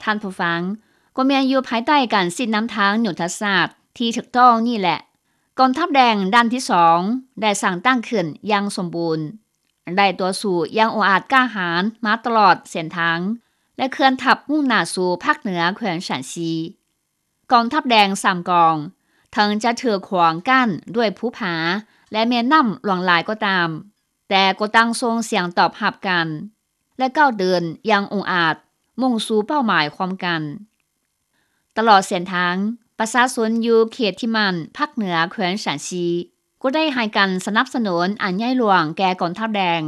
ທ່ານຜູ້ຟັງ, ກໍແມ່ນຢູ່ພາຍໃຕ້ການຊີ້ນຳທາງຍຸດທະສາດທີ່ຖືກຕ້ອງນີ້ແຫຼະ, ກອງທັບແດງດ້ານທີສອງໄດ້ສ້າງຕັ້ງຂຶ້ນຢ່າງສົມບູນ, ໄດ້ຕໍ່ສູ້ຢ່າງອົງອາດກ້າຫານມາຕະຫຼອດເສັ້ນທາງ ແລະ ເຄື່ອນທັບມຸ່ງໜ້າສູ່ພາກເໜືອແຂວງຊານຊີ. ກອງທັບແດງສາມກອງ ເຖິງຈະຖືກຂວາງກັ້ນດ້ວຍພູຜາ ແລະ ແມ່ນ້ຳຫຼວງຫຼາຍກໍຕາມ, ແຕ່ກໍຕ່າງສົ່ງສຽງຕອບຮັບກັນ ແລະ ກ້າວເດີນຢ່າງອົງອາດ ມຸ່ງສູ່ເປົ້າໝາຍຮ່ວມກັນ. ຕະຫຼອດເສັ້ນທາງ, ປະຊາຊົນຢູ່ເຂດທີ່ໝັ້ນພາກເໜືອແຂວງຊານຊີ ກໍໄດ້ໃຫ້ການສະໜັບສະໜູນອັນໃຫຍ່ຫຼວງແກ່ກອງທັບແດງ.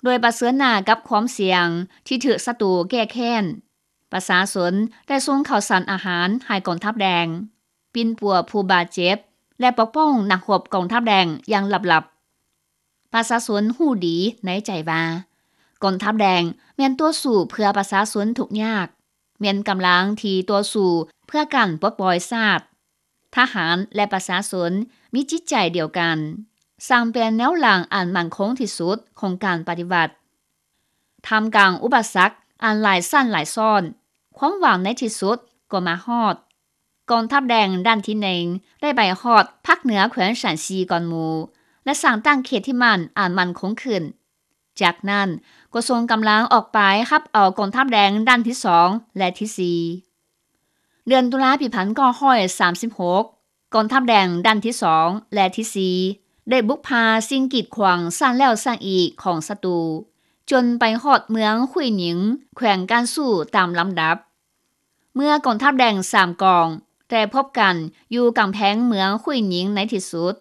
ໂດຍປະເຊີນໜ້າກັບຄວາມສ່ຽງທີ່ຖືກສັດຕູແກ້ແຄ້ນ, ປະຊາຊົນໄດ້ສົ່ງເຂົ້າສານອາຫານໃຫ້ກອງທັບແດງ, ປິ່ນປົວຜູ້ບາດເຈັບ ແລະ ປົກປ້ອງນັກຮົບກອງທັບແດງຢ່າງລັບໆ. ປະຊາຊົນຮູ້ດີໃນໃຈວ່າ ກອງທັບແດງແມ່ນຕໍ່ສູ້ເພື່ອປະຊາຊົນທຸກຍາກ, ແມ່ນກຳລັງທີ່ຕໍ່ສູ້ເພື່ອການປົດປ່ອຍຊາດ. ທະຫານ ແລະ ປະຊາຊົນມີຈິດໃຈດຽວກັນ, ສ້າງເປັນແນວຫຼັງອັນໝັ້ນຄົງທີ່ສຸດຂອງການປະຕິວັດ. ທ່າມກາງອຸປະສັກອັນຫຼາຍຊັ້ນຫຼາຍຊ້ອນ, ຄວາມຫວັງໃນທີ່ສຸດກໍມາຮອດ. ກອງທັບແດງດ້ານທີໜຶ່ງໄດ້ໄປຮອດພາກເໜືອແຂວງຊານຊີກ່ອນໝູ່ ແລະ ສ້າງຕັ້ງເຂດທີ່ໝັ້ນອັນໝັ້ນຄົງຂຶ້ນ. ຈາກນັ້ນກໍສົ່ງກຳລັງອອກໄປຮັບເອົາກອງທັບແດງດ້ານທີສອງ ແລະ ທີສີ່. ເດືອນຕຸລາປີພັນເກົ້າຮ້ອຍສາມສິບຫົກ ກອງທັບແດງດ້ານທີສອງ ແລະ ທີສີ່ ໄດ້ບຸກຜ່າສິ່ງກີດຂວາງສ້າງແລ້ວສ້າງອີກຂອງສັດຕູ, ຈົນໄປຮອດເມືອງຄຸຍໜິງ ແຂວງການຊູ້ຕາມລຳດັບ. ເມື່ອກອງທັບແດງສາມກອງໄດ້ພົບກັນຢູ່ກຳແພງເມືອງຄຸຍໜິງໃນທີ່ສຸດ,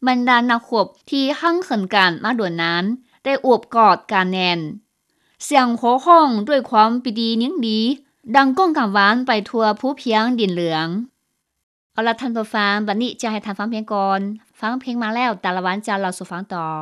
ບັນດານັກຮົບທີ່ຮັ່ງເຂີນກັນມາດົນນານໄດ້ໂອບກອດກັນແໜ້ນ. ສຽງໂຫ່ຮ້ອງດ້ວຍຄວາມປີຕິຍິນດີດັງກ້ອງກັງວານໄປທົ່ວພູພຽງດິນເຫຼືອງ. ເອົາລະທ່ານຜູ້ຟັງ, ບັດນີ້ຈະໃຫ້ທ່ານຟັງເພງກ່ອນ. ຟັງເພງມາແລ້ວ, ຕາລະວັນຈະເລົ່າສູ່ຟັງຕໍ່.